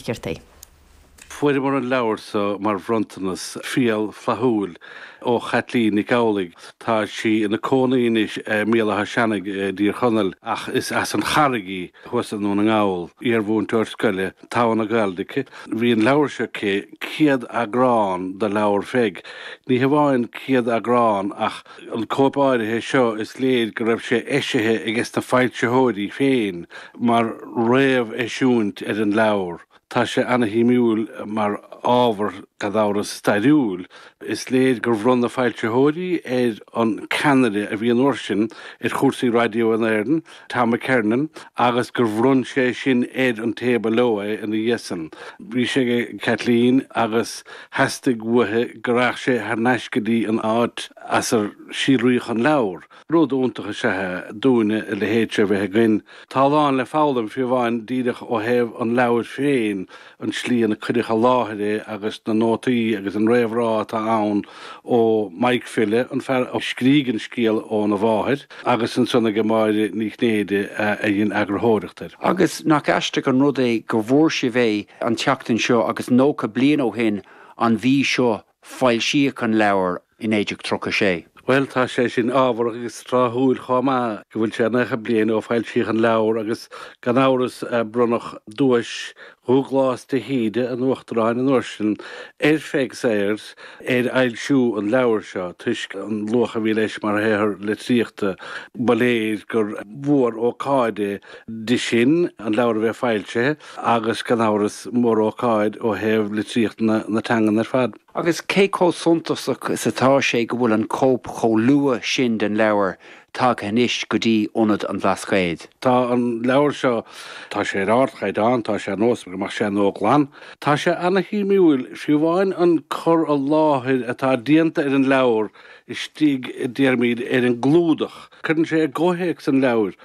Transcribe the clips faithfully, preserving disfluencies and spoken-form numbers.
Flaithcheartaigh. Fuaireamar an leabhar seo mar bhronntanas fial flaithiúil ó Chaitlín Nic Amhlaigh. Tá sí ina cónaí anois i mBéal Átha Seanaidh i dTír Chonaill ach is as an Charraig í thuas i nDún na nGall, iarmhúinteoir scoile, togha na Gaeilge aici. Bhí an leabhar seo aici, céad eagrán de leabhar Pheig. Ní hamháin céad eagrán ach an cóip áirithe seo is léir go raibh sé eisithe aige na foilsitheoirí féin mar réamheisiúint ar an leabhar. Tá sé an-shuimiúil mar ábhar gan amhras stairiúil. Is léir gur bhronn na foilsitheoirí ar an ceannaire a bhí an uair sin ar chúrsaí raidió in Éirinn, Tom McKernan, agus gur bhronn sé sin ar an té ba leo é ina dhiaidh san. Bhí sé ag Kathleen agus theastaigh uaithi go rachadh sé thar n-ais go dtí an áit as ar síolraíodh an leabhar. Rud iontach is ea é dúinne a leithéid seo a bheith againn. Tá a lán le foghlaim fiú amháin díreach ó thaobh an leabhair féin, an tslí ina cuireadh i láthair é agus na nótaí agus an réamhrá atá ann ó Mike Fille, an fear a scrígh an scéal óna mháthair, agus ansan ag Máire Ní Chinnéide a dhein eagarthóireacht air. Agus nach aisteach an rud é go bhfuair sibh é an tseachtain seo agus nócha bliain ó shin an mhí seo foilsíodh an leabhar i naoi déag tríocha sé. Bhuel, tá sé sin ábharach agus tráthúil chomh maith go bhfuil sé nócha bliain ó foilsíodh an leabhar agus gan amhras bronnadh duais Dhúghlás de hÍde, an Uachtaráin an uair sin, ar Pheig Sayers ar fhoilsiú an leabhair seo toisc an luach a bhí leis mar shaothar litríochta. Ba léir gur mhór-ócáid é di sin an leabhar a bheith foilsithe agus gan amhras mór-ócáid ó thaobh litríocht na teangan ar fad. Agus cé chomh suntasach is atá sé go bhfuil an cóip chomh luath sin den leabhar tagtha anois go dtí Ionad an Bhlascaoid? Tá an leabhar seo, tá sé ar ardchaighdeán, tá sé ar nós go mbeadh sé nua-ghlan. Tá sé ana-shuimiúil, fiú amháin an cur i láthair atá déanta ar an leabhar istigh, déarfaimid, ar an gclúdach. Cuireann sé i gcomhthéacs an leabhair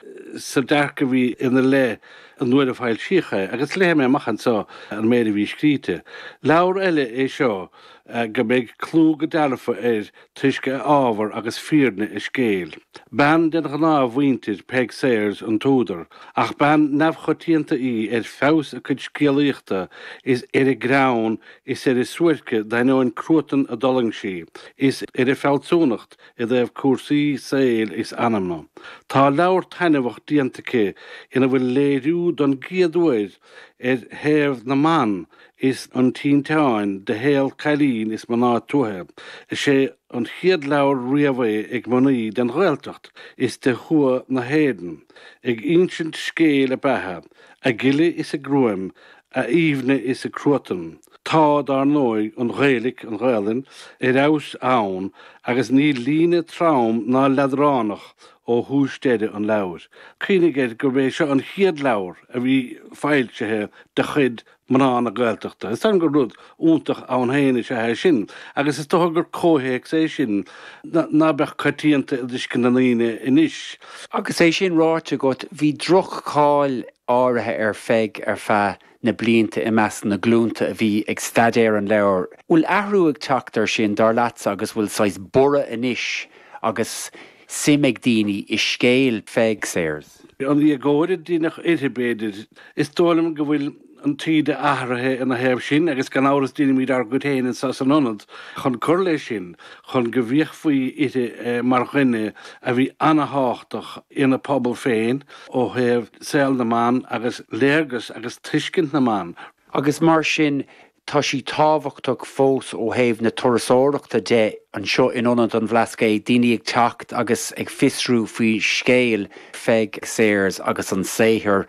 sa dearcadh a bhí ina leith an uair a foilsíodh é, agus léifidh mé amach anseo an méid a bhí scríte. Leabhar eile é seo go mbeidh clú go dearfa air toisc a ábhar agus fírinne a scéil. Bean den ghnáthmhuintir Peig Sayers an t-údar, ach bean neamhchoitianta í ar feabhas a cuid scéalaíochta is ar a greann is ar a suairce d'ainneoin cruatan a d'fhulaing sí, is ar a fealsúnacht i dtaobh cúrsaí saoil is anama. Tá leabhar taitneamhach déanta aici ina bhfuil léiriú don gcéad uair ar thaobh na mban is an tinteáin de shaol cailín is mná tuaithe. Is é an chéad leabhar riamh é ag mnaoi den Ghaeltacht is de thuath na hÉireann, ag insint scéil a beatha, a gile is a gruaim, a aoibhne is a cruatan. Tá, dar ndóigh, an Ghaeilic, an Ghaelainn, ar fheabhas ann agus níl líne trom ná leadránach ó thús deireadh an leabhair. Cuimhnigh air gurb é seo an chéad leabhar a bhí foilsithe de chuid mná na Gaeltachta. Is dóigh liom gur rud iontach ann féin is ea é sin agus is dócha gur comhthéacs é sin ná beadh coitianta i dtuiscint na ndaoine anois. Agus é sin ráite agat, bhí droch-cháil áirithe ar Pheig ar feadh na blianta i measc na glúnta a bhí ag staidéar an leabhair. Bhfuil athrú ag teacht air sin, dar leatsa, agus bhfuil saghas borradh anois agus suim ag daoine i scéal Pheig Sayers? An éagóir a deineadh uirthi, b'fhéidir. Is dóigh liom go bhfuil an taoide athraithe ina thaobh sin agus gan amhras déanaimid ár gcuid féin anseo san ionad chun cur leis sin, chun go bhféachfaí uirthi mar dhuine a bhí ana-thábhachtach ina pobal féin ó thaobh saol na mban agus léargas agus tuiscint na mban. Agus mar sin tá sí tábhachtach fós ó thaobh na turasóireachta de anseo in Ionad an Bhlascaoid, daoine ag teacht agus ag fiosrú faoi scéal Pheig Sayers agus an saothar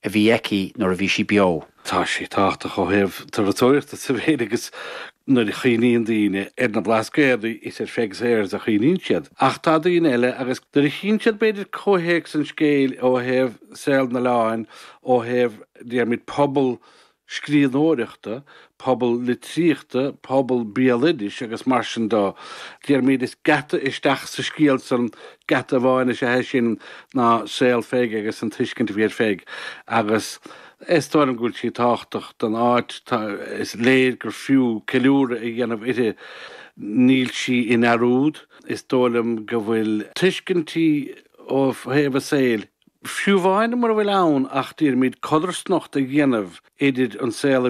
a bhí aici nuair a bhí sí beo. Tá sí tábhachtach ó thaobh turasóireachta sa mhéid agus nuair a chuimhníonn daoine ar na Blascaodaí is ar Pheig Sayers a chuimhníonn siad. Ach tá daoine eile agus nuair a chíonn siad b'fhéidir comhthéacs an scéil ó thaobh saol na n-oileán, ó thaobh, déarfaimid, pobal scríbhneoireachta, pobal litríochta, pobal béaloidis agus mar sin de. Déarfaimid is geata isteach sa scéal san, geata amháin is ea é sin ná saol Pheig agus an tuiscint a bhí ar Pheig agus is dóigh liom go bhfuil sí tábhachtach don áit, tá, is léir gur fiú ceiliúradh a dhéanamh uirthi. Níl sí i ndearúd. Is dóigh liom go bhfuil tuiscintí ó thaobh a saoil, Fiú amháin mura bhfuil ann ach déarfaimid codarsnacht a dhéanamh idir an saol a